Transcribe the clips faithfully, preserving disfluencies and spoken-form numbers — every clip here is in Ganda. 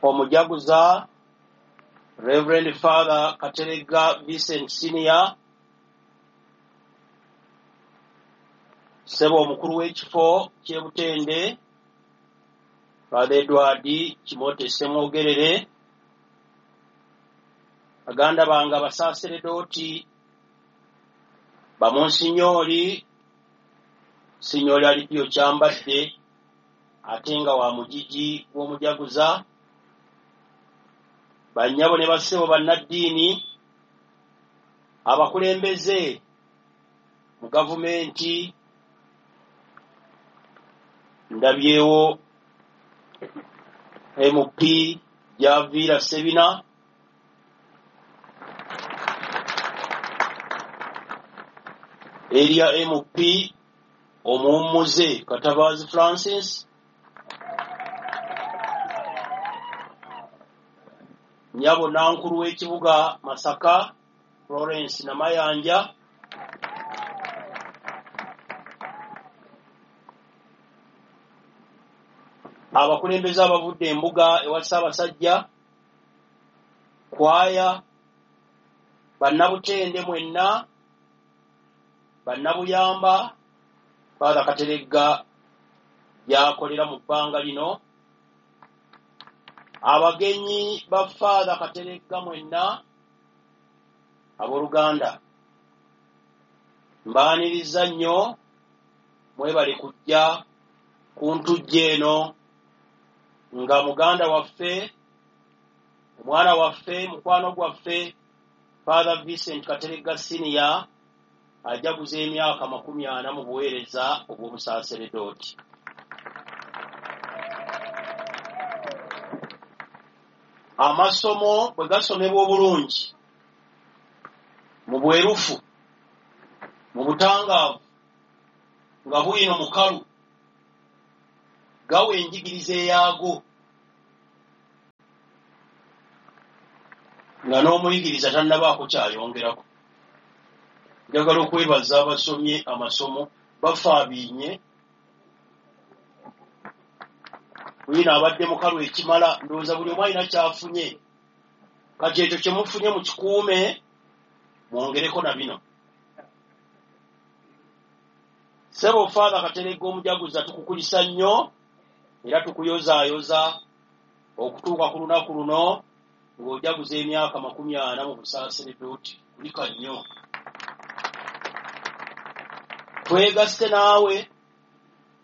Omujaguza Reverend Father Kateregga Vincent Senior, ssebo omukulu w'ekifo ky'e Butende Father Edward Kimote Ssemwogerere, baganda bange abasaaseredooti, bamonsinyooli, Sinyooli Alipio Kyambadde ate nga wa mugigi gw'omujaguza, bannyabo ne bassebo bannaddiini, abakulembeze mu gavumenti, ndabyewo M P Javiira Ssebina, erya M P omuwummuze Katabaazi Francis, nnyabo nankulu w'ekibuga Masaka Florence Namayanja, abakulembeze abavudde embuga ewa Ssaabasajja, kwaya, bannabutende mwenna, bannabuyamba, Father Kateregga gy'akolera mu bbanga lino, abagenyi ba Father Kateregga mwenna, abooluganda, mbaaniriza nnyo, mwebale kujja ku ntujjo eno nga muganda waffe, omwana waffe, mukwano gwaffe Father Vincent Kateregga Senior ajaguza emyaka makumi ana mu buweereza obw'obusaaseredooti. Amasomo bwe gasomebwa obulungi, mu bwerufu, mu butangaavu, nga bwino mukalu, gawa enjigiriza eyaago, nga n'omuyigiriza tannabaako kyayongerako. Njagala okwebaza abasomye amasomo bafaabiinye, bwino abadde mukalu ekimala, ndowooza buli omu alina ky'afunye. Kati ekyo kye mufunye mukikuume, mwongereko na bino. Ssebo Father Kateregga omujaguza, tukukulisa nnyo era tukuyozaayoza okutuuka ku lunaku luno ng'ojaguza emyaka makumi ana mu busaaseredooti. Kulika nnyo. Twegasse naawe,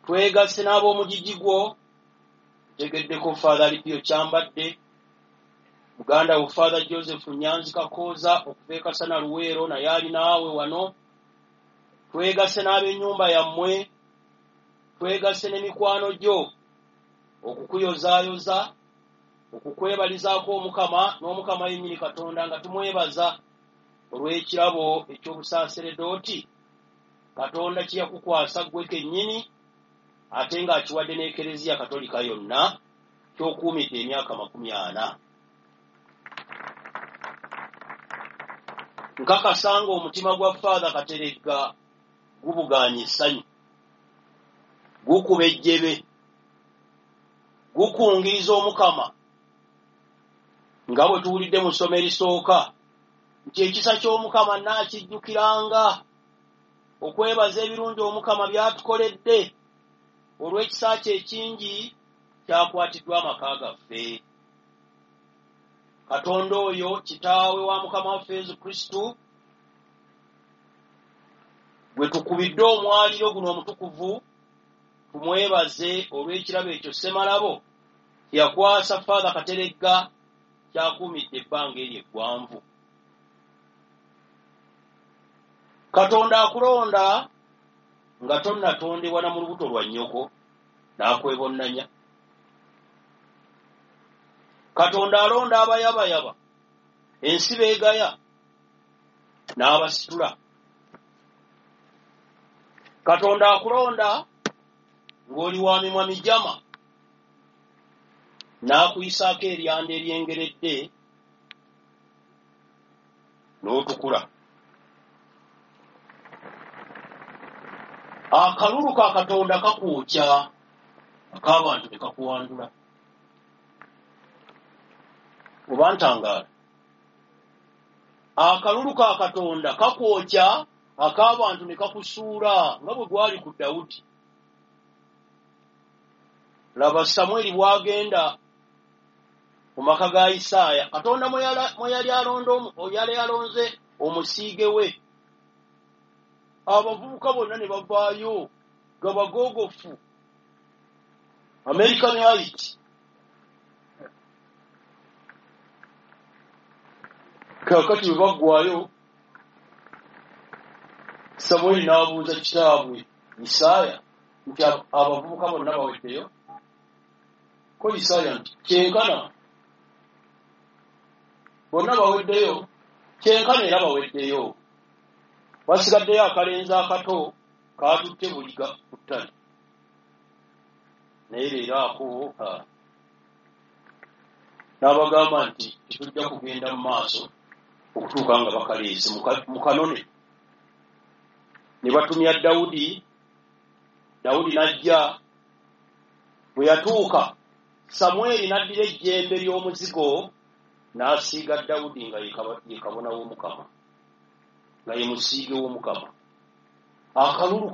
twegasse n'ab'omugigi gwo. Ntegeddeko Father Alipio Kyambadde, muganda wo Father Joseph Nyanzi Kakooza okuva e Kasana Luweero naye ali naawe wano. Twegasse n'ab'ennyumba yammwe, twegasse n'emikwano gyo okukuyozaayoza, okukwebalizaako Omukama n'Omukama yennyini Katonda nga tumwebaza olw'ekirabo eky'obusaaseredooti Katonda kye yakukwasa ggwe kennyini ate ng'akiwadde n'Ekereziya Katolika yonna ky'okuumidde emyaka makumi ana. Nkakasa ng'omutima gwa Father Kateregga gubugaanye essanyu, gukuba ejjebe, gukungiriza Omukama nga bwe tuwulidde mu ssomo erisooka nti ekisa ky'Omukama nnaakijjukiranga, okwebaza ebirungi Omukama by'atukoledde olw'ekisa kye ekingi kyakwatiddwa amaka gaffe. Katonda oyo kitaawe wa Mukama waffe Yesu Kristo gwe tukubidde omwaliro guno omutukuvu, tumwebaze olw'ekirabo ekyo ssemalabo yakwasa Father Kateregga kyakuumidde ebbanga eryo eggwanvu. Katonda akulonda nga tonnatondebwa na mu lubuto lwa nnyoko n'akwebonnanya. Katonda alonda abayabayaba, ensi beegaya, n'abasitula. Katonda akulonda ng'oli wa mimwa mijama, n'akuyisaako eryanda eryengeredde n'otukula. Akalulu ka Katonda kakwokya, ak'abantu ne kakuwandula. Oba ntangaala. Akalulu ka Katonda kakwokya, ak'abantu ne kakusuula nga bwe gwali ku Dawudi. Laba Samwiri bw'agenda mu maka ga Isaaya, Katonda mwe yali alonze omusiige we. Abavubuka bonna ne bavaayo nga bagoogofu. American Height. Kaakati bwe baggwaayo, Samwiri n'abuuza kitaabwe Isaaya nti abavubuka bonna baweddeyo? Ko Isaaya nti kyenkana bonna baweddeyo, kyenkana era baweddeyo. Wasigaddeyo akalenzi akato kaatutte buliga ku ttale. Naye leero ako n'abagamba nti tetujja kugenda mu maaso okutuuka nga bakaleese mu kanone. Ne batumya Dawudi, Dawudi n'ajja. Bwe yatuuka, Samwiri n'addira ejjembe ly'omuzigo n'asiiga Dawudi nga ye kabona w'Omukama, nga ye musiige w'Omukama. Akalulu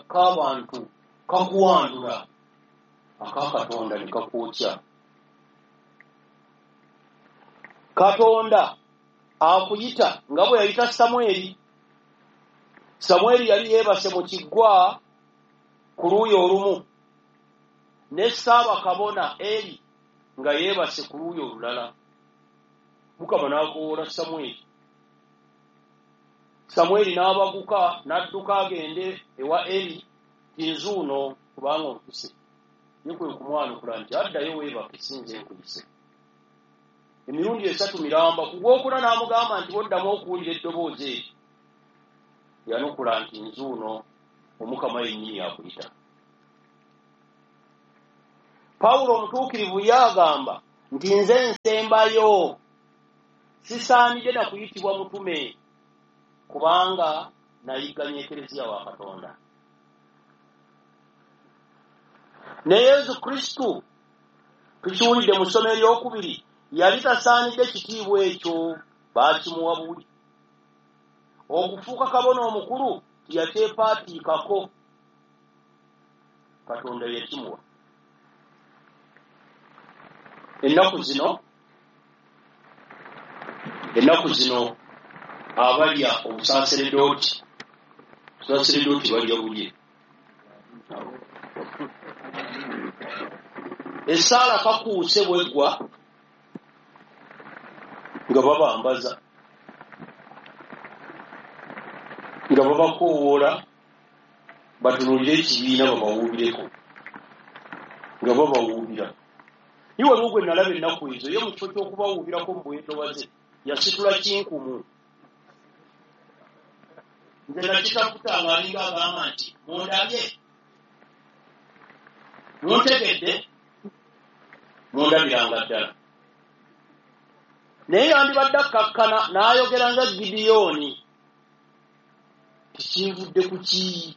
k'abantu kakuwandula, aka Katonda ne kakwokya. Katonda akuyita nga bwe yayita Samwiri. Samwiri yali yeebase mu kiggwa ku luuyi olumu, ne Ssaabakabona Eri nga yeebase ku luuyi olulala. Mukama n'akowoola Samwiri. Samwiri n'abaguka n'adduka agende ewa Eri nti nzuuno kubanga ompise. Ye kwe kumwanukula nti addayo weebake si nze nkuyise. Emirundi esatu miramba, ku gwokuna n'amugamba nti bw'oddamu okuwulira eddoboozi eryo. Yanukula nti nzuuno, Omukama yennyini akuyita. Pawulo omutuukirivu yagamba nti nze nsembayo, sisaanidde na kuyitibwa mutume, kubanga nayigganya Ekereziya wa Katonda. Ne Yesu Kristo tukiwulidde mu ssomo eryokubiri, yali tasaanidde kitiibwa ekyo, baakimuwa buwi. Okufuuka kabona omukulu tiyakyepaatiikako, Katonda yakimuwa. Ennaku zino ennaku zino abalya obusaseredooti, obusaseredooti balya bulye. Essaala kakuuse bw'eggwa nga babambaza, nga babakoowoola batunuulire ekibiina babawuubireko, nga babawuubira. Ye waliwo gwe nalaba ennaku ezo, ye mu kifo ky'okubawuubirako mu bwetowaze yasitula kinkumu. Nze nakitaputa ng'alinga agamba nti mundabye, muntegedde, mundabiranga ddala. Naye yandibadde akkakkana n'ayogera nga Gidiyooni, tikinvudde ku ki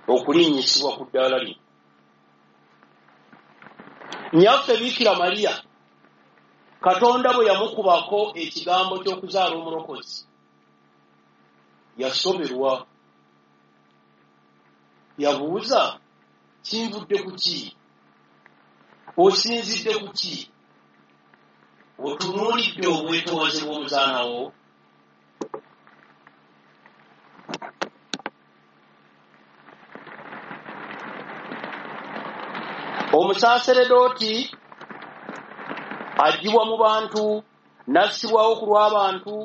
okulinnyisibwa ku ddaala lino. Nnyaffe Biikira Mariya, Katonda bwe yamukubako ekigambo ky'okuzaala omulokozi, yasoberwa. Yabuuza, kinvudde ku ki? Osinzidde ku ki? Otunuulidde obwetoowaze bw'omuzaana wo? Omusaseredooti aggyibwa mu bantu, n'assibwawo ku lw'abantu,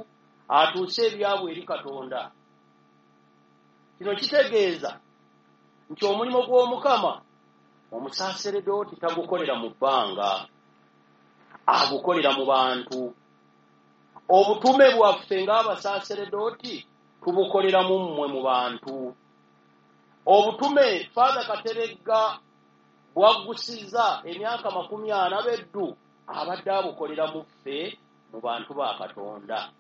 atuuse ebyabwe eri Katonda. Kino kitegeeza nti omulimu gw'Omukama omusaseredooti tagukolera mu bbanga, agukolera mu bantu. Obutume bwaffe ng'abasaseredooti tubukolera mu mmwe mu bantu. Obutume Father Kateregga bwaggusiza emyaka makumi ana beddu abadde abukolera mu ffe mu bantu ba Katonda.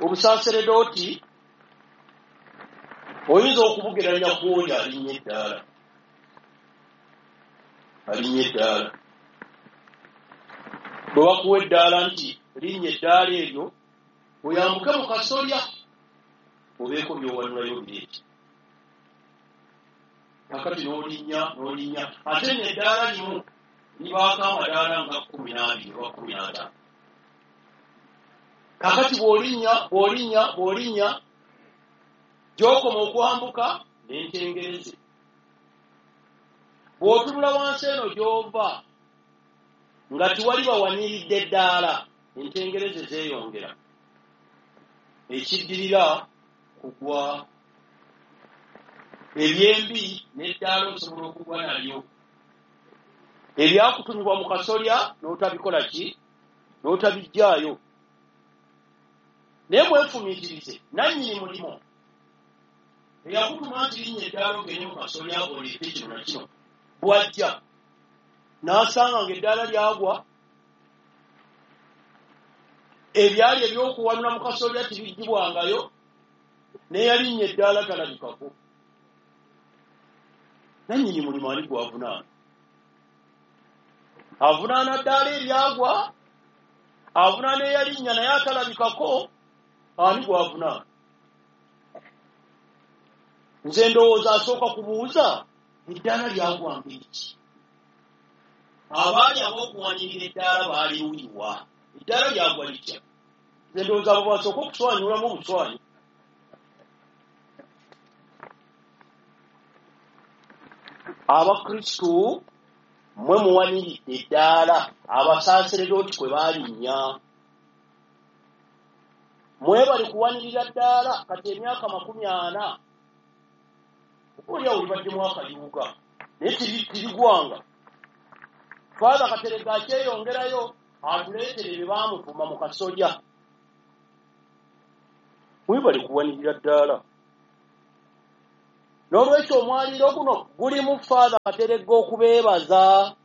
Obusaseredooti oyinza okubugeranya ku oyo alinnya eddaala. Alinnya eddaala. Bwe bakuwa eddaala nti linnya eddaala eryo, oyambuke mu kasolya obeeko by'owanulayo bireete. Kakati n'olinnya n'olinnya, ate nno eddaala limu libaako amadaala nga kkumi n'abiri oba kkumi n'ataano. Kakati bw'olinnya bw'olinnya bw'olinnya gy'okoma okwambuka n'entengereze. Bw'otunula wansi eno gy'ova nga tiwali bawaniridde ddaala, entengereze zeeyongera. Ekiddirira kugwa. Ebyembi n'eddaala osobola okugwa nalyo. Ebyakutumibwa mu kasolya n'otabikola ki? N'otabiggyaayo. Naye mwefumiitirize, nannyini mulimu eyakutuma nti linnya eddaala ogende mu kasolya oleete kino na kino, bw'ajja n'asanga ng'eddaala lyagwa, ebyali ebyokuwanula mu kasolya tebiggyibwangayo, n'eyalinnya eddaala talabikako. Nannyini mulimu ani gw'avunaana? Avunaana ddaala eryagwa, avunaana eyalinnya naye atalabikako, ani gw'avunaana? Nze ndowooza asooka kubuuza eddaala lyagwa ngeri ki? Abaali ab'okuwanirira eddaala baaliruyiwa? Eddaala lyagwa litya? Nze ndowooza abo basooka okuswanyulamu obuswanyu. Abakristu mmwe muwaniridde eddaala abasaaseredooti kwe baalinnya. Mwebali kuwanirira ddaala kati emyaka makumi ana, oboolyawo libaddemu akayuuga naye tirigwanga. Father Kateregga akyeyongerayo atuleetere bye baamutuma mu kasolya. Mwebali kuwanirira ddaala. N'olwekyo omwaliiro guno gulimu Father Kateregga okubeebaza.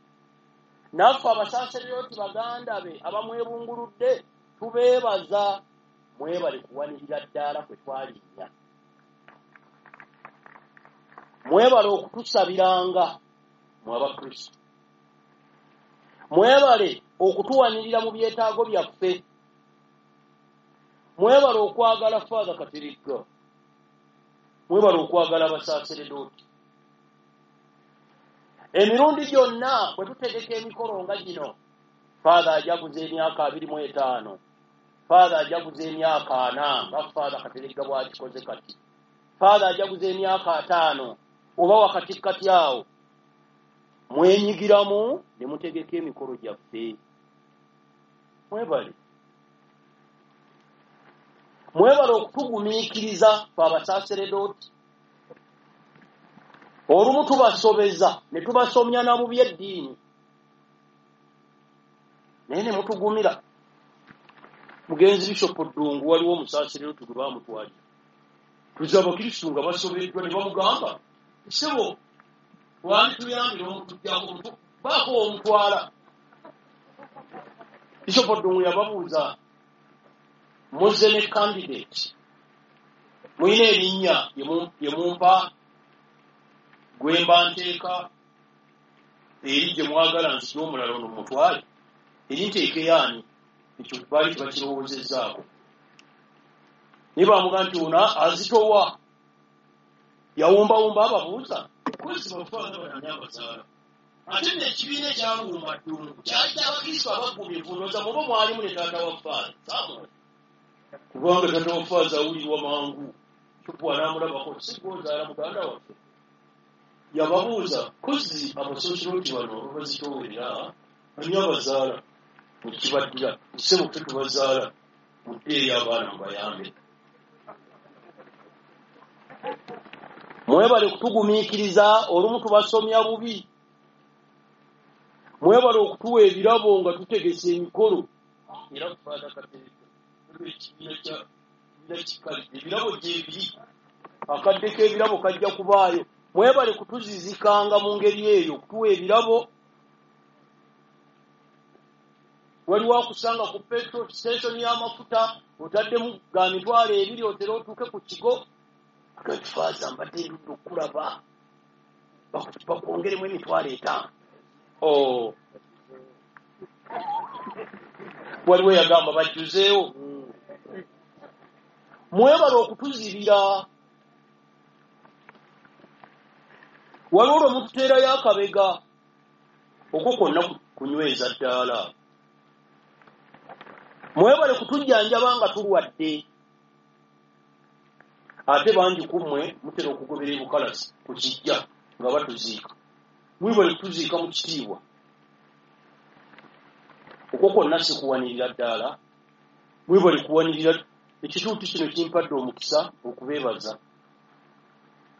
Naffe abasaaseredooti baganda be abamwebunguludde tubeebaza. Mwebale kuwanirira ddaala kwe twalinnya. Mwebale okutusabiranga mwe Abakristo. Mwebale okutuwanirira mu byetaago byaffe. Mwebale okwagala Father Kateregga. Mwebale okwagala abasaaseredooti. Emirundi gyonna bwe tutegeka emikolo nga gino, Father ajaguza emyaka abiri mu etaano, Father ajaguza emyaka ana nga Father Kateregga bw'akikoze kati, Father ajaguza emyaka ataano oba wakatikkati awo, mwenyigiramu ne mutegeka emikolo gyaffe. Mwebale. Mwebale okutugumiikiriza ffe abasaaseredooti. Olumu tubasobeza ne tubasomya na mu by'eddiini, naye ne mutugumira. Mugenzi Bishop Ddungu waliwo omusaaseredooti gwe baamutwalira. Tuze Abakristu nga basobeddwa ne bamugamba, ssebo wandituyambire omutuggyako baako omutwala. Bishop Ddungu yababuuza, muzze ne candidate, muyina erinnya lye mumpa gwe mba nteeka eri gye mwagala nzije omulala ono mutwale, eri nteeke yaani? Ekyo baali tebakirowoozezzaako. Naye bamugamba nti ono azitowa, yawumbawumba ababuuza, kozi bafaana banani abazaala. Ate nno ekibiina ekyawumba Ddungu kyali ky'Abakristo abaggumivu, ndowooza mubo mwalimu ne taata wa Faaza Samuel. Kubanga taata wa Faaza awulirwa mangu, Bishop anaamulabako si gw'ozaala muganda waffe. Yababuuza, kozi abasooserooti bano ababazitoowerera ani abazaala? Mukibaddira, ssebo ffe tubazaala, muddeeyo abaana mubayambe. Mwebale kutugumiikiriza, olumu tubasomya bubi. Mwebale okutuwa ebirabo nga tutegese emikolo. Era Father Kateregga, ekibiina kya kikalidde, ebirabo gyebiri, akadde k'ebirabo kajja kubaayo. Mwebale kutuzizikanga mu ngeri eyo, okutuwa ebirabo. Waliwo akusanga ku petrol station y'amafuta, otaddemu ga mitwalo ebiri otere otuuke ku kigo. Akati Faaza mbadde ndudde okulaba, bakwongeremu emitwalo etaano. Oh. Waliwo yagamba bajjuzeewo. Mwebale okutuzibira. Waliwo lwe mututeerayo akabega okwo kwonna kunyweza ddaala. Mwebale kutujjanjaba nga tulwadde. Ate bangi ku mmwe mutera okugobera ebukalasi ku kijja nga batuziika. Mwebale kutuziika mu kitiibwa. Okwo kwonna si kuwanirira ddaala. Mwebale kuwanirira. Ekituuti kino kimpadde omukisa okubeebaza.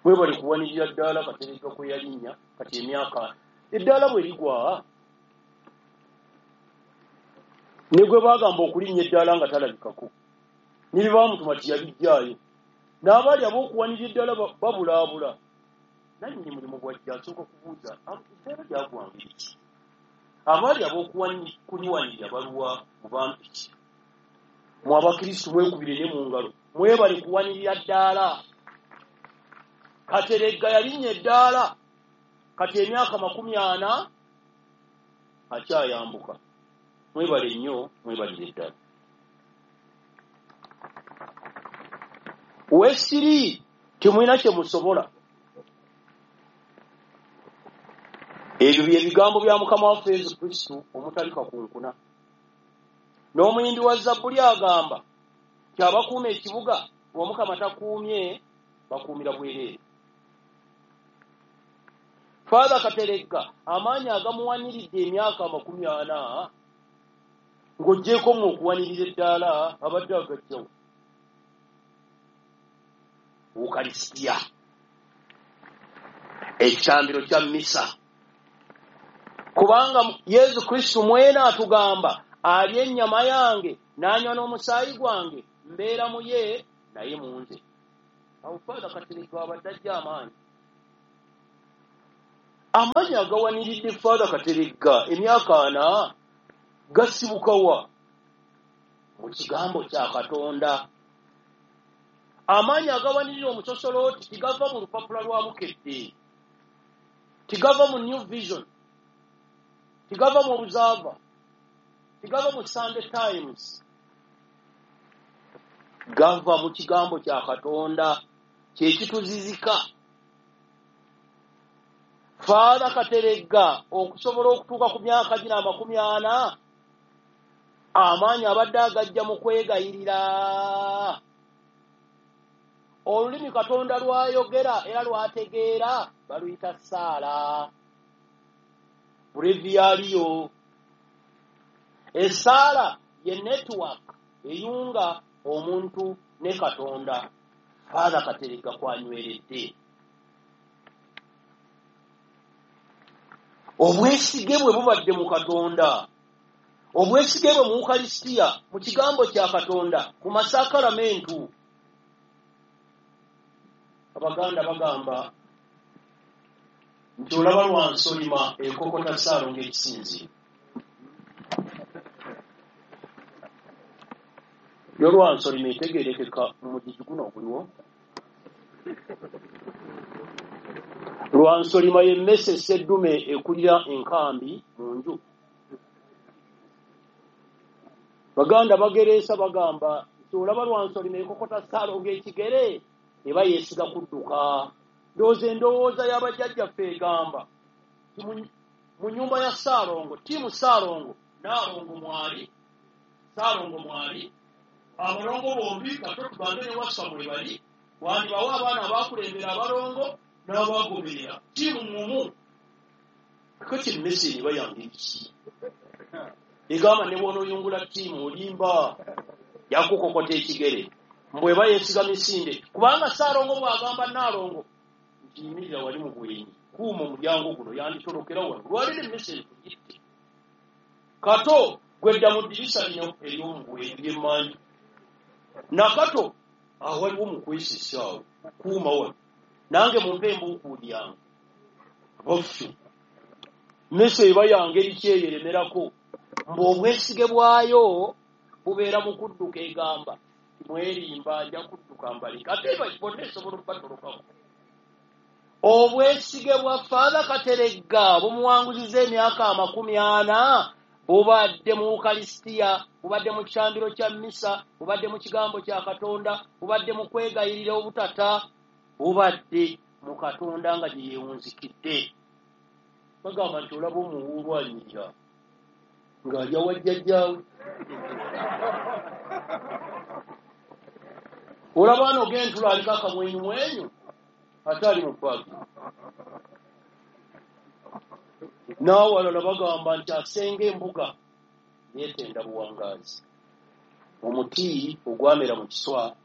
Mwebale kuwanirira ddaala Kateregga kwe yalinnya kati emyaka eddaala bwe ligwa ne gwe baagamba okulinnya eddaala nga talabikako ne bye baamutuma tiyabijjaayo n'abaali ab'okuwanirira eddaala babulaabula. Nannyini mulimu gwajja asooka kubuuza eddaala lyagwanga ki? Abaali ab'okuliwanirira baluwa mu bampiki. Mwe abakristu mwekubire ne mu ngalo mwebale kuwanirira ddaala. Kateregga yalinnya eddaala kati emyaka makumi ana akyayambuka. Mwebale nnyo, mwebalire ddala. Weesiri temulina kye musobola. Ebyo bye bigambo bya Mukama waffe Yesu Kristo omutali kakunkuna. N'omuyimbi wa Zabbuli agamba nti abakuuma ekibuga bw'Omukama takuumye bakuumira bwereere. Father Kateregga amaanyi agamuwaniridde emyaka amakumi ana ng'oggyeeko mu okuwanirira eddaala abadde agajjawo. Ukaristia, ekitambiro kya misa. Kubanga Yesu Kristo mwene atugamba alya ennyama yange n'anywa n'omusaayi gwange mbeera mu ye naye mu nze. Awo Father Kateregga abadde ajja amaanyi. Amaanyi agawaniridde Father Kateregga emyaka ana gasibuka wa? Mu kigambo kya Katonda. Amaanyi agawanirira omusosolooti tigava mu lupapula lwa Bukedde, tigava mu New Vision, tigava mu Observer, tigava mu Sunday Times. Gava mu kigambo kya Katonda kye kituzizika. Father Kateregga okusobola okutuuka ku myaka gino amakumi ana amaanyi abadde agajja mu kwegayirira. Olulimi Katonda lwayogera era lwategeera baluyita ssaala. Breviario. Essaala ye network eyunga omuntu ne Katonda. Father Kateregga kwanyweredde. Obwesige bwe bubadde mu Katonda, obwesige bwe mu Ukaristia, mu kigambo kya Katonda, mu masakaramentu. Abaganda bagamba nti olaba lwansolima ekokota ssaalongo ekisinziiro. Yo lwansolima etegeerekeka mu mugigi guno oguliwo. Lwansolima y'emmese sseddume ekulira enkambi mu nju. Baganda bagereesa bagamba nti olaba lwansolima ekokota ssaalongo ekigere eba yeesiga kudduka. Ndowooza endowooza y'abajjajjaffe egamba mu nnyumba ya Ssaalongo, ttiimu Ssaalongo, Nnaalongo mwali, Ssaalongo mwali, abalongo bombi kato tugambe ne Wasswa mwe bali, wandibawo abaana abaakulembera abalongo n'abagoberera ttiimu mumu. Kakati emmese eba yange ki? Egamba ne bw'onooyungula ttiimu olimba yakukokota ekigere. Mbwe eba yeesiga misinde kubanga Ssaalongo bw'agamba Nnaalongo nti yimirira wali mu bwenyi kuuma omulyango guno yanditolokera wano lwaliro emmese ekugitte. Kato gwedda mu ddirisa lino ery'omu bwenyi ly'emmanju. Nakato awaliwo mu kwesesa awo kuuma wano nange mumpe embuukuuli yange. Baffe mmese eba yange eriki eyo eremerako. Mbu obwesige bwayo bubeera mu kudduka egamba mwerimba nja kudduka mbaleka ate bonna esobola okubatolokako. Obwesige bwa Father Kateregga bumuwanguziza emyaka amakumi ana, bubadde mu Ukalisitiya, bubadde mu kyambiro kya misa, bubadde mu kigambo kya Katonda, bubadde mu kwegayirira obutata, bubadde mu Katonda nga gye yeewunzikidde. Bagamba nti olaba omuwuulu anyirira ng'alya wa jjajjaawe. Olaba ano og'entula aliko akamwenyumwenyu ate ali mu paaki. N'awalala bagamba nti asenga embuga yeetenda buwangaazi. Omuti ogwamera mu kiswa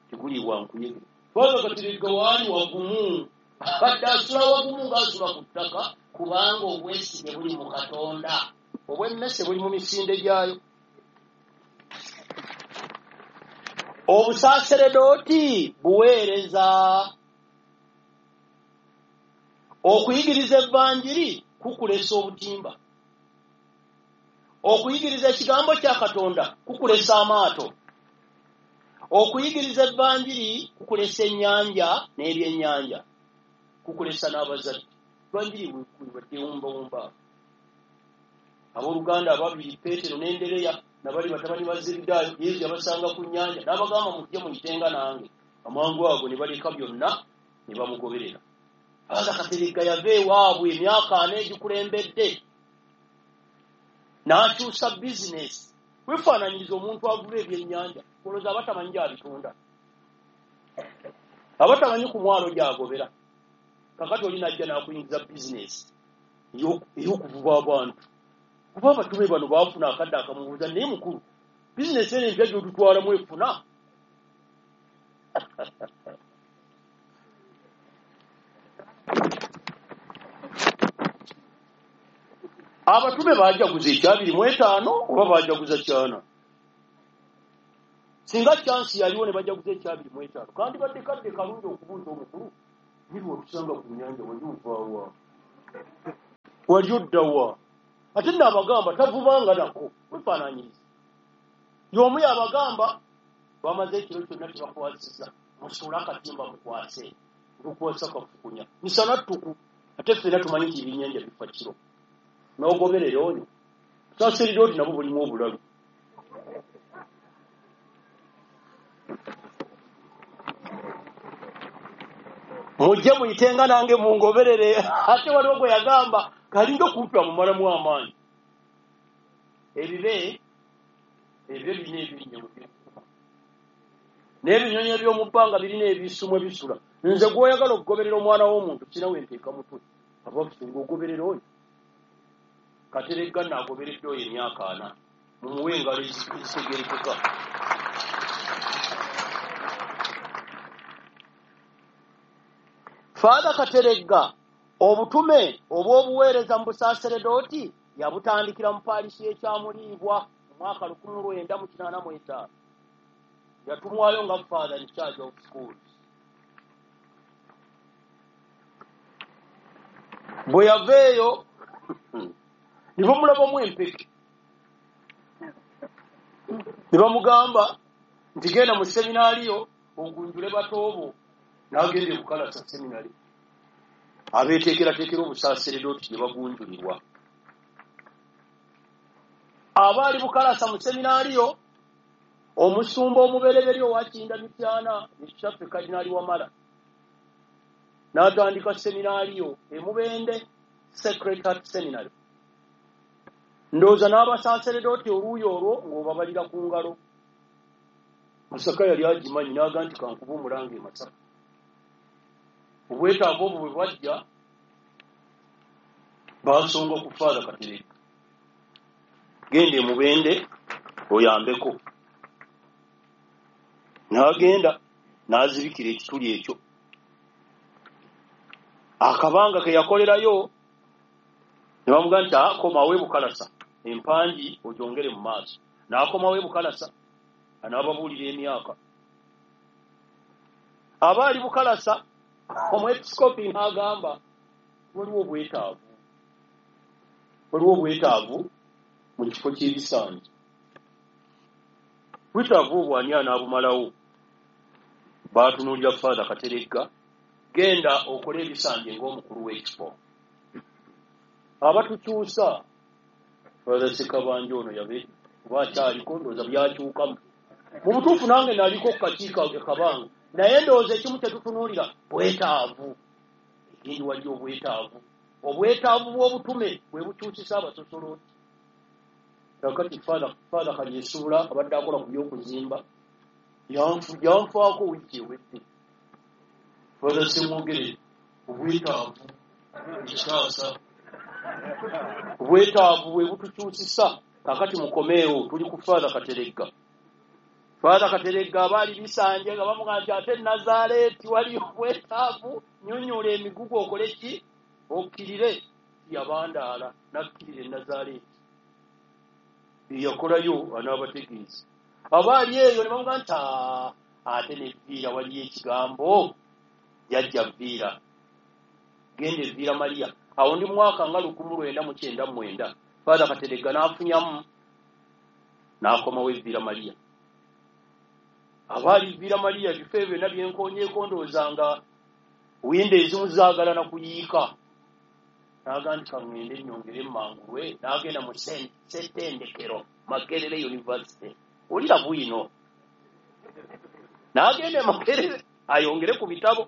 teguliibwa nkuyege. Father Kateregga waali wagumu, abadde asula wagumu ng'asula ku ttaka, kubanga obwesige buli mu Katonda. Obw'emmese buli mu misinde gyayo. Obusaaseredooti buweereza. Okuyigiriza evvanjiri kukulesa obutimba. Okuyigiriza ekigambo kya Katonda kukulesa amaato. Okuyigiriza evvanjiri kukulesa ennyanja n'ebyennyanja, kukulesa n'abazadde. Evvanjiri bwewumbawumba. Abooluganda ababiri Peetero n'Endereya nabali batabani ba Zebedaayo, Yesu yabasanga ku nnyanja n'abagamba mujje muyitenga nange. Amangu ago ne baleka byonna ne bamugoberera. Father Kateregga yava ewaabwe emyaka ana egikulembedde n'akyusa bizinesi. Weefaananyiriza omuntu avuba ebyennyanja, olowooza aba tamanyi gy'abitunda, aba tamanyi ku mwalo gy'agobera. Kakati oli n'ajja n'akuyingiza bizinesi ey'okuvuba abantu. Kuba abatume bano baafuna akadde akamubuuza, naye mukulu, bizinesi eno empya gy'otutwalamu efuna? Abatume baajaguza ekyabiri mu etaano oba baajaguza kyana? Singa chansi yaliwo ne bajaguza ekyabiri mu etaano, kandi badde kadde kalungi okubuuza omukulu, niri watusanga ku nnyanja wali ovaawa, wali oddawa? Ate nno abagamba tavubanga nako, weefaanaanyiriza. Y'omu yabagamba bamaze ekiro kyonna tebakwasizza, musuule akatimba mukwase, lukwasa kafukunya misana ttuku, ate ffenna tumanyi nti ebyennyanja bifa kiro. N'ogoberera oyo saaseredooti nabwo bulimu obulalu. Mujje muyitenga nange mungoberere. Ate waliwo gwe yagamba kalinga okumpi amumalamu amaanyi. Ebibe ebyo birina ebinnya n'ebinyonyi eby'omu bbanga birina ebisumu ebisula. Nze gw'oyagala okugoberera omwana w'omuntu sina we nteeka mutwe. Abaffe ng'ogoberera oyo. Kateregga naagoberedde oyo emyaka ana, mumuwe engalo ezitegeerekeka. Father Kateregga obutume obw'obuweereza mu busaaseredooti yabutandikira mu paalisi y'Ekyamuliibwa mu mwaka lukumi lwenda mu kinaana mu etaano. Yatumwayo nga Father in charge of schools. Bwe yava eyo ne bamulabamu empeke, ne bamugamba nti genda mu seminaaliyo ogunjule batoobo. N'agenda e Bukalasa seminari, abeeteekerateekera obusaaseredooti gye bagunjulirwa. Abaali Bukalasa mu seminaaliyo, omusumba omubereberye owa Kinda Mityana ye kitaffe Kadinaali Wamala n'atandika seminaaliyo e Mubende Sacred Heart Seminary. Ndowooza n'abasaaseredooti oluuyi olwo ng'obabalira ku ngalo. Masaka yali agimanyi n'aga nti kankuba omulanga e Masaka. Obwetaavu obwo bwe bwajja, baasonga ku Father Kateregga, genda e Mubende oyambeko. N'agenda n'azibikira ekituli ekyo. Akabanga ke yakolerayo ne bamugamba nti akomawo e Bukalasa, empangi ogyongere mu maaso. N'akomawo e Bukalasa anaababuulira emyaka. Abaali Bukalasa omwepiskopi n'agamba waliwo obwetaavu, waliwo obwetaavu mu kifo ky'ebisanji. Bwetaavu obwo ani anaabumalawo? Baatunuulira Father Kateregga Genda okole ebisanje ng'omukulu w'ekifo. Abatukyusa Father Ssekabanja ono yabe oba akyaliko, ndowooza byakyukamu. Mu butuufu nange naliko ku kakiiko e Kabanga, naye ndowooza ekimu kye tutunuulira bwetaavu. Ekindi waliyo obwetaavu, obwetaavu bw'obutume bwe bukyusisa abasosolooti. Kakati Father Father Kalyesuula abadde akola ku by'okuzimba yanfaako wiiki ewedde. Father Ssemwogere, obwetaavu ekitaasa, obwetaavu bwe butukyusisa. Kakati mukomeewo, tuli ku Father Kateregga. Father Kateregga abaali bisanje nga bamugamba nti ate Nazaaleeti waliyo obwetaavu, nnyonnyola emigugu okole ki, okkirire. Yabandaala n'akkirira e Nazaaleeti, yakolayo anaabategeeza. Abaali eyo ne bamugamba nti ate ne Vviira waliyo ekigambo, jajja Vviira, genda Evviira Maria. Awo ndi mwaka nga lukumu lwenda mu kyenda mu mwenda. Father Kateregga n'afunyamu n'akomawo Evviira Maria. Abaali Vviira Maria ebifo ebyo byonna byenkoonyeeko ndowooza nga windo ezimu zaagala na kuyiika. N'agamba nti kaŋŋende nnyongere mmangulwe, n'agenda mu ssettendekero Makerere University. Olira bwino. N'agenda e Makerere ayongere ku bitabo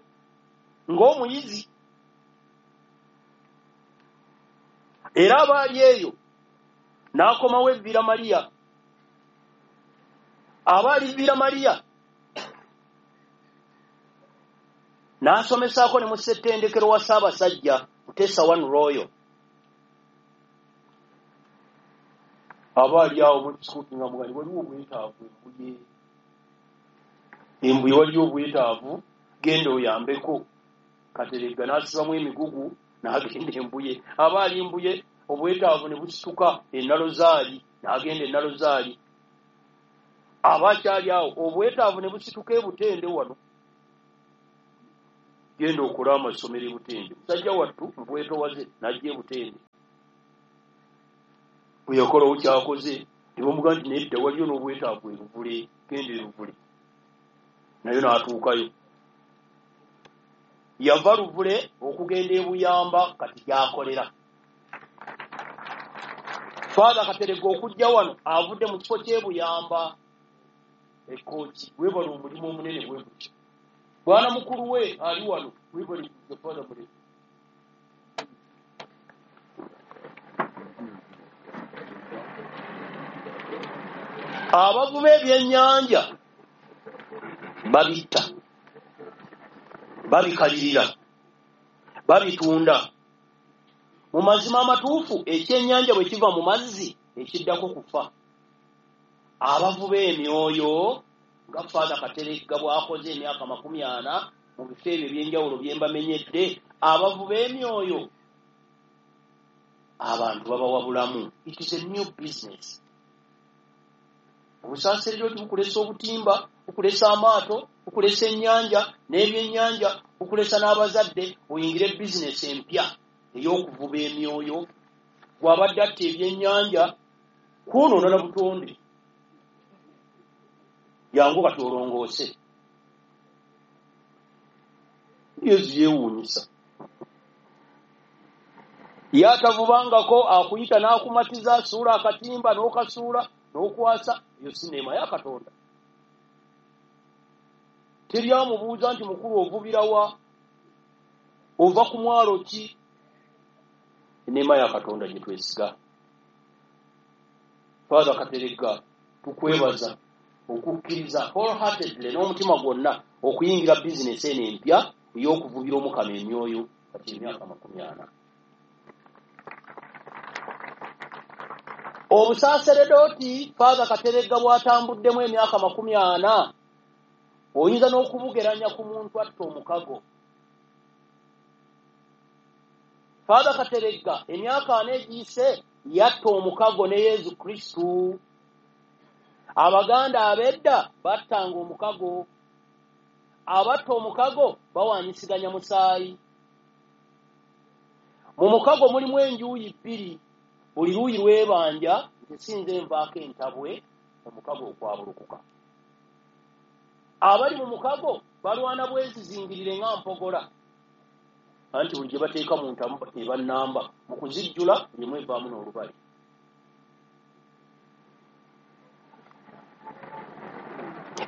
ng'omuyizi. Era abaali eyo n'akomawo Evviira Maria. Abaali Vviira Maria n'asomesaako ne mu ssettendekero wa Ssaabasajja Mutesa One Royal. Abaali awo mwepisikoopi nga mugani waliwo obwetaavu Embuye, Embuye waliyo obwetaavu, genda oyambeko. Kateregga n'asibamu emigugu n'agenda Embuye. Abaali Embuye obwetaavu ne busituka e Nalozaali, n'agenda e Nalozaali. Abakyali awo obwetaavu ne busituka e Butende wano, genda okole amasomero e Butende. Musajja wattu mu bwetowaze n'ajja e Butende. Bwe yakolawo ky'akoze ne bamugamba nti nedda waliyo n'obwetaavu e Luvule, genda e Luvule. Nayo n'atuukayo. Yava Luvule okugenda e Buyamba kati gy'akolera. Father Kateregga okujja wano avudde mu kifo ky'e Buyamba e Kooki. Weebale omulimu omunene bwe gutyo. Bwana mukulu we ali wano, weebale kujja Father Muleke. Abavuba ebyennyanja babitta, babikalirira, babitunda. Mu mazima amatuufu ekyennyanja bwe kiva mu mazzi ekiddako kufa. Abavuba emyoyo nga Father Kateregga bw'akoze emyaka makumi ana mu bifo ebyo eby'enjawulo bye mbamenyedde, abavuba emyoyo abantu babawa bulamu. It is a new business. Obusaaserdoti bukulesa obutimba, bukulesa amaato, bukulesa ennyanja n'ebyennyanja, bukulesa n'abazadde, oyingire bizinesi empya ey'okuvuba emyoyo. Bw'abadde atta ebyennyanja kwonoona na butonde. Jangu kati olongoose. Yesu yeewuunyisa. Ye atavubangako akuyita n'akumatiza, suula akatimba n'okasuula n'okwasa, eyo si neema ya Katonda. Teri amubuuza nti mukulu ovubira wa, ova ku mwalo ki? Eneema ya Katonda gye twesiga. Father Kateregga, tukwebaza okukkiriza wholeheartedly n'omutima gwonna okuyingira bizinesi eno empya ey'okuvubira Omukama emyoyo kati emyaka makumi ana. Obusaaseredooti Father Kateregga bw'atambuddemu emyaka makumi ana oyinza n'okubugeranya ku muntu atta omukago. Father Kateregga emyaka ana egiyise yatta omukago ne Yesu Kristo. Abaganda ab'edda battanga omukago. Abatta omukago bawaanyisiganya musaayi. Mu mukago mulimu enjuyi bbiri, buli luuyi lwebanja nti sinze nvaako entabwe, omukago okwabulukuka. Abali mu mukago balwana bwezizingirire nga mpogola. Anti buli gye bateeka mu ntamu eba nnamba, mu kuzijjula emu evaamu n'olubale.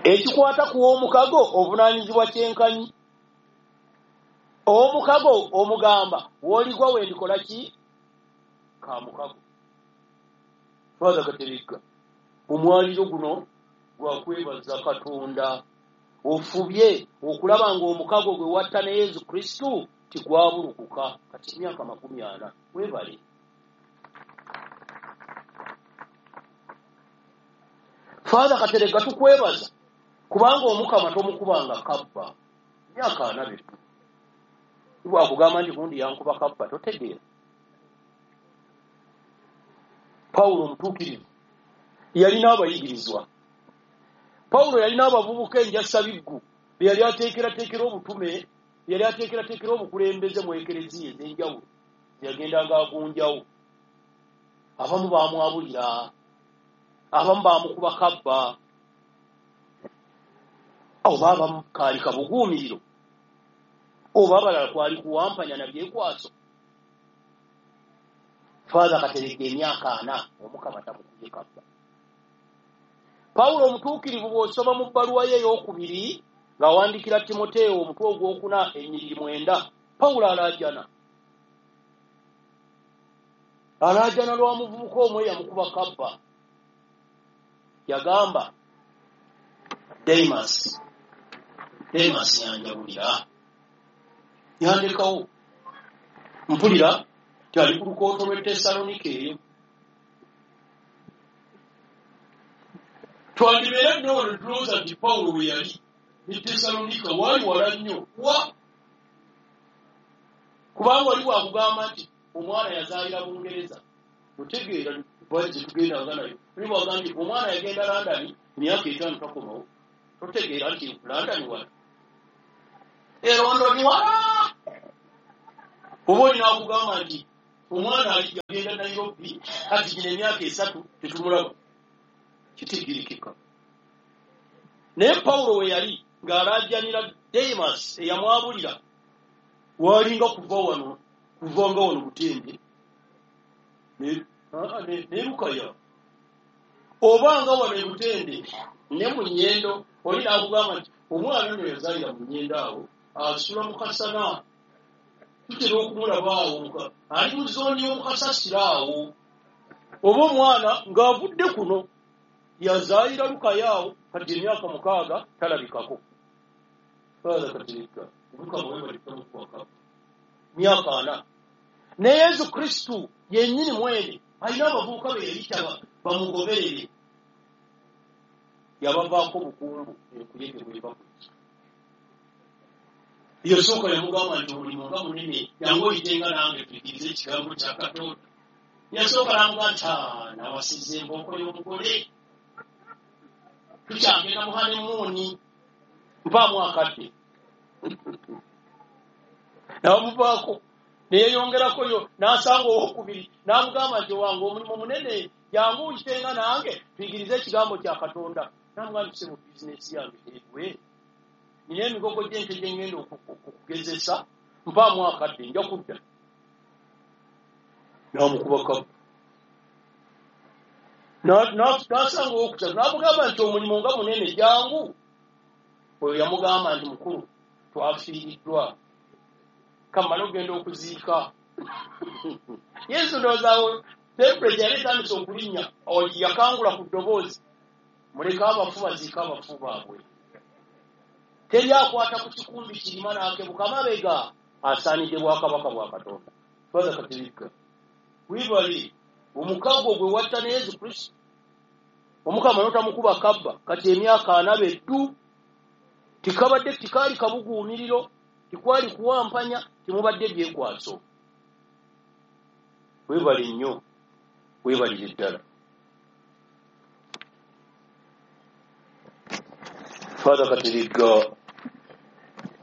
Ekikwata ku w'omukago ovunaanyizibwa kyenkanyi. Omukago omugamba w'oligwa wendikola ki? Ka mukago. Father Kateregga, omwaliro guno gwakwebaza Katonda. Ofubye okulaba ng'omukago gwe watta ne Yesu Kristo tigwabulukuka kati emyaka makumi ana. Weebale. Father Kateregga, tukwebaza kubanga Omukama tomukubanga kabba myaka ana bitu. Bwakugamba nti gundi yankuba kabba totegeera. Pawulo omutuukirivu yalina abayigirizwa. Pawulo yalina abavubuka enjasabiggu be yali ateekerateekera obutume, yali ateekerateekera obukulembeze mu ekereziya ez'enjawulo yagendanga agunjawo. Abamu baamwabulira, abamu baamukuba kabba, oba abamu kaali kabuguumiriro, oba abalala kwali kuwampanya na byekwaso. Father Kateregga emyaka ana Omukama tamukubye kabba. Pawulo omutuukirivu bw'osoma mu bbaluwa ye ey'okubiri ng'awandiikira Timoteewo omutwe ogwokuna ennyiriri mwenda, Pawulo alaajana. Alaajana lwa muvubuka omu eyamukuba kabba. Yagamba, Demas, Demas yanjabulira, yandekawo. Mpulira ti ali ku lukooto lw'e Tesalonike eyo. Twandibeera nno wano tulowooza nti Pawulo we yali ne Tesalonika waali wala nnyo. Wa? Kubanga oli bw'akugamba nti omwana yazaalira Bungereza, otegeera gye tugendanga nayo. Oli bw'agamba nti omwana yagenda London emyaka etaano takomawo, totegeera nti London wala. E London wala! Oba olina akugamba nti omwana yagenda Nairobi kati gino emyaka esatu tetumulaba. Kitegeerekeka. Naye Pawulo we yali ng'alaajanira Demas eyamwabulira, waalinga kuva wano, kuva nga wano Butembe ne Lukaya, oba nga wano e Butende ne mu Nnyendo. Oli n'akugamba nti omwana ono yazaalira mu Nnyendo awo, asula mu kasana, tutera okumulaba awo, ali mu zooni y'omukasasiro awo. Oba omwana ng'avudde kuno yazaalira Lukaya awo, kati emyaka mukaaga talabikako. Father Kateregga, Omukama weebale tamukuba kabba myaka ana. Ne Yesu Kristo yennyini mwene alina abavubuka be yayita bamugoberere, yabavaako bukumbu enkuyege bweva ku ki. Yasooka yamugamba nti omulimu nga munene, jangu oyitenga nange tuyigirize ekigambo kya Katonda. Yasooka n'amugamba nti nawasizza embooko y'omugole, tukyagenda mu honeymoon, mpaamu akadde. N'amuvaako ne yeeyongerako yo n'asanga owookubiri n'amugamba nti owange omulimu munene, jangu oyitenga nange tuyigirize ekigambo kya Katonda. N'amugamba nti ssebo bizinensi yange teggwe, nina emigogo gy'ente gye ŋŋenda okugezesa, mpaamu akadde nja kudda. N'amukuba kabba. N'asanga owokusatu n'amugamba nti omulimu nga munene, jangu. Oyo yamugamba nti mukulu twafiiriddwa, kamale ogenda okuziika. Yesu ndowooza temperature yali etandise okulinnya, yakangula ku ddoboozi, muleke abafu baziike abafu baabwe. Teri akwata ku kikumbi kirima n'akebuka mabega asaanidde bwakabaka bwa Katonda. Father Kateregga, weebale omukago gwe watta ne Yesu Kristo, Omukama n'otamukuba kabba kati emyaka ana beddu. Tikabadde tikaali kabuguumiriro, tikwali kuwampanya, timubadde byekwaso. Weebale nnyo, weebalire ddala. Father Kateregga,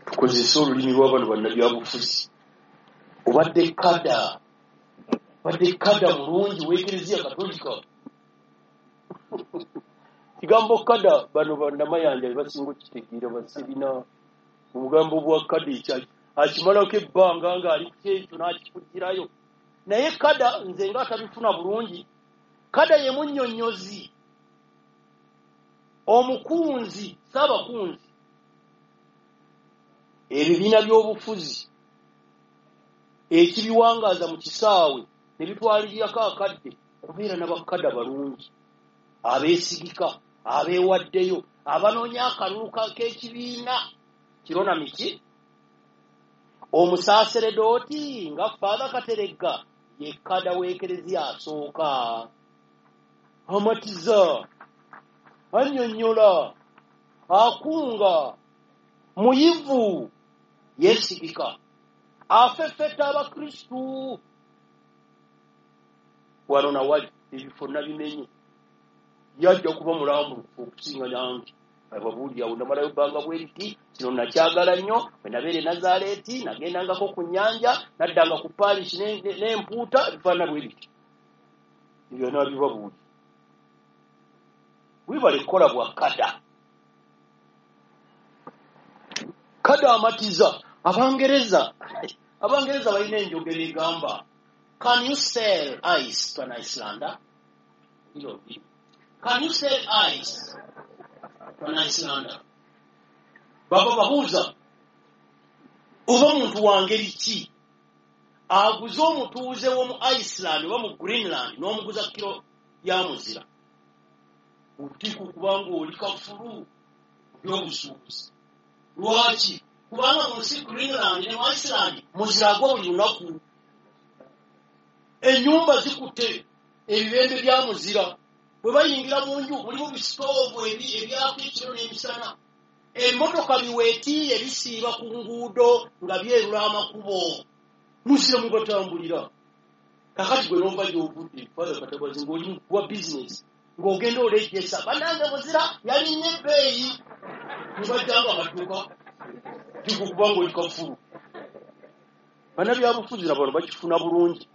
tukozese olulimi lw'abano bannabyabufuzi. Obadde kada, obadde kada mulungi w'Ekereziya Katolika. Kigambo kada bano bannamayanja be basinga okukitegeera, basirina obugambo bwa kada ekyaki. Akimalako ebbanga ng'ali ku kyekyo n'akikugirayo. Naye kada nze nga atabifuna bulungi, kada ye munnyonnyozi, omukunzi, saabakunzi. Ebibiina by'obufuzi ekibiwangaaza mu kisaawe ne bitwalirako akadde kubeera n'abakada balungi abeesigika, abeewaddeyo, abanoonya akalulu k'ekibiina kiro na miki. Omusaaseredooti nga Father Kateregga ye kada w'ekereziya asooka, amatiza, annyonnyola, akunga, muyivu, yeesigika, afeffetta Abakristu. Wano nawali ebifo nabimenye, yajja kuba mulambulukufu okusinga nange. Ababuulira awo namalayo bbanga bwe riti, kino nakyagala nnyo. Bwe nabeera e Nazaaleeti nagendangako ku nnyanja, naddanga ku Paris n'empuuta, bifaanana bwe biti. Ebyo nabibabuulira. Webale kukola bwa kada. Kada amatiza. Abangereza, Abangereza balina enjogera egamba, can you sell ice to an Icelander? Can you sell ice to an Icelander? Baba babuuza, oba muntu wa ngeri ki aguze omutuuze w'omu Iceland oba mu Greenland n'omuguza kiro ya muzira? Obutiiko kubanga oli kafulu by'obusuubuzi. Lwaki? Kubanga mu nsi Greenland ne mu Iceland muzira agwa buli lunaku. Ennyumba zikutte ebibembe bya muzira. Bwe bayingira mu nju mulimu bisitoovu ebyaka ekiro n'emisana. Emmotoka biweetiiye bisiiba ku nguudo nga byerula amakubo. Muzira mubatambulira. Kakati gwe n'ova gy'ovudde, Father Katabazi, ng'oli wa bizinesi, ng'ogenda olejjesa, bannange muzira yalinnya ebbeeyi. Ne bajja nga badduka, kubanga oli kafulu. Bannabyabufuzi na bano bakifuna bulungi.